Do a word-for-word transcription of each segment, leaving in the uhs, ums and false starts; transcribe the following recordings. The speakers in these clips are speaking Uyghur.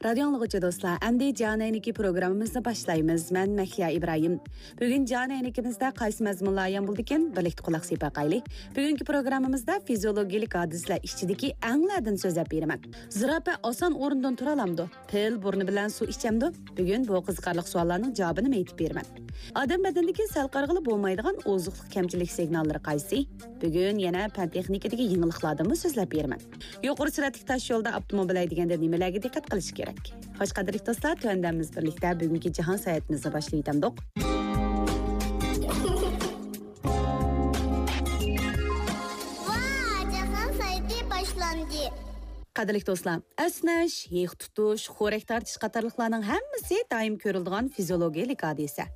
رادىيو ئاڭلىغۇچى دوستلار، ئەمدى جان ئەينىكى پروگراممىمىزنى باشلايمىز. مەن مەھلىيا ئىبراھىم. بۈگۈن جان ئەينىكىمىزدە قايسى مەزمۇنلار ئايان بولىدىكەن؟ بىرلىكتە قۇلاق سېلىپ باقايلى. بۈگۈنكى پروگراممىمىزدا فىزىيولوگىيەلىك ھادىسىلەر ئىچىدىكى ئەڭلەردىن سۆزلەپ بېرىمەن. زىراپە ئاسان ئورنىدىن تۇرالامدۇ؟ پىل بۇرنى بىلەن سۇ ئىچەمدۇ؟ بۈگۈن بۇ قىزىقارلىق سوئاللارنىڭ جاۋابىنى ئېيتىپ بېرىمەن. ئادەم بەدىنىدىكى سەل قارىغىلى بولمايدىغان ئوزۇقلۇق كەمچىلىك سىگناللىرى قايسى؟ بۈگۈن يەنە پەن تېخنىكىدىكى يېڭىلىقلاردىنمۇ سۆزلەپ بېرىمەن. يۇقىرى سۈرئەتلىك تاش يولدا ئاپتوموبىل ھەيدىگەندە نېمىلەرگە دىققەت قىلىش كېرەك؟ خوش، قەدىرلىك دوستلار، تۆۋەندە بىز بىرلىكتە بۈگۈنكى جاھان ساياھىتىمىزنى باشلىۋېتەمدۇق. ۋا، جاھان ساياھىتى باشلاندى. قەدىرلىك دوستلار، ئەسنەش، ھېق تۇتۇش، خورەك تارتىش قاتارلىقلارنىڭ ھەممىسى دائىم كۆرۈلىدىغان فىزىيولوگىيەلىك ھادىسە.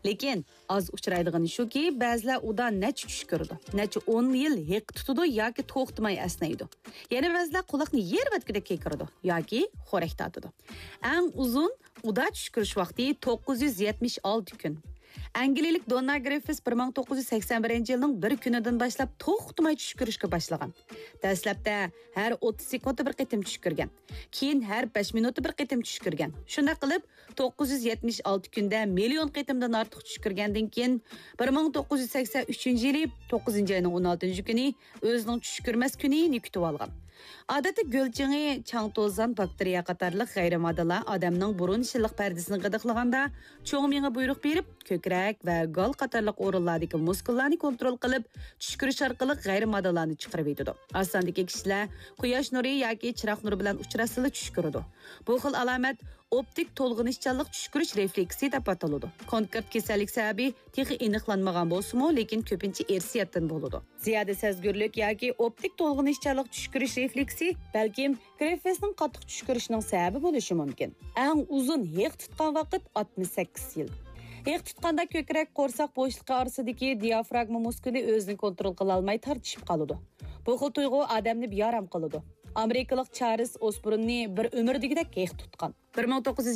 لېكىن ئاز ئۇچرايدىغىنى شۇكى، بەزىلەر ئۇدا نەچچە چۈش كۆرىدۇ، نەچچە ئون يىل ھېق تۇتىدۇ ياكى توختىماي ئەسنەيدۇ. يەنە بەزىلەر قۇلاقنى يېرىۋەتكۈدەك كېكىرىدۇ ياكى خورەك تارتىدۇ. ئەڭ ئۇزۇن ئۇدا چۈش كۆرۈش ۋاقتى توققۇز يۈز يەتمىش ئالتە كۈن. ئەنگلىيەلىك دوننا گرىففىس بىر مىڭ توققۇز يۈز سەكسەن بىرىنچى يىلنىڭ بىر كۈنىدىن باشلاپ توختىماي چۈش كۆرۈشكە باشلىغان. دەسلەپتە ھەر ئوتتۇز سېكۇنتتا بىر قېتىم چۈش كۆرگەن. كېيىن ھەر بەش مىنۇتتا بىر قېتىم چۈش كۆرگەن. شۇنداق قىلىپ، توققۇز يۈز يەتمىش ئالتە كۈندە مىليون قېتىمدىن ئارتۇق چۈش كۆرگەندىن كېيىن، بىر مىڭ توققۇز يۈز سەكسەن ئۈچىنچى يىلى توققۇزىنچى ئاينىڭ ئون ئالتىنچى كۈنى ئۆزىنىڭ چۈش كۆرمەس كۈنىنى كۈتۈۋالغان. ئادەتتە گۆل چېڭى، چاڭ-توزان، باكتېرىيە قاتارلىق غەيرىي ماددىلار ئادەمنىڭ بۇرۇن شىللىق پەردىسىنى غىدىقلىغاندا، چوڭ مېڭە بۇيرۇق بېرىپ، كۆكرەك ۋە گال قاتارلىق ئورۇنلاردىكى مۇسكۇللارنى كونترول قىلىپ، چۈش كۆرۈش ئارقىلىق غەيرىي ماددىلارنى چىقىرىۋېتىدۇ. ئاز ساندىكى كىشىلەر قۇياش نۇرى ياكى چىراغ نۇرى بىلەن ئۇچراشسىلا چۈش كۆرىدۇ. بۇ خىل ئالامەت ئوپتىك تولغىنىشچانلىق چۈش كۆرۈش رېفلېكسى دەپ ئاتىلىدۇ. كونكرېت كېسەللىك سەۋەبى تېخى ئېنىقلانمىغان بولسىمۇ، لېكىن كۆپىنچە ئىرسىيەتتىن بولىدۇ. زىيادە سەزگۈرلۈك ياكى ئوپتىك تولغىنىشچانلىق چۈش كۆرۈش رېفلېكسى بەلكىم گرىففىسنىڭ قاتتىق چۈش كۆرۈشىنىڭ سەۋەبى بولۇشى مۇمكىن. ئەڭ ئۇزۇن ھېق تۇتقان ۋاقىت ئاتمىش سەككىز يىل. ھېق تۇتقاندا كۆكرەك، قورساق بوشلۇقى ئارىسىدىكى دىئافراگما مۇسكۇلى ئۆزىنى كونترول قىلالماي تارتىشىپ قالىدۇ. بۇ خىل تۇيغۇ ئادەمنى بىئارام قىلىدۇ. ئامېرىكىلىق چارلىز ئوسبورننى بىر ئۆمۈر دېگۈدەك ھېق تۇتقان. بىر مىڭ توققۇز يۈز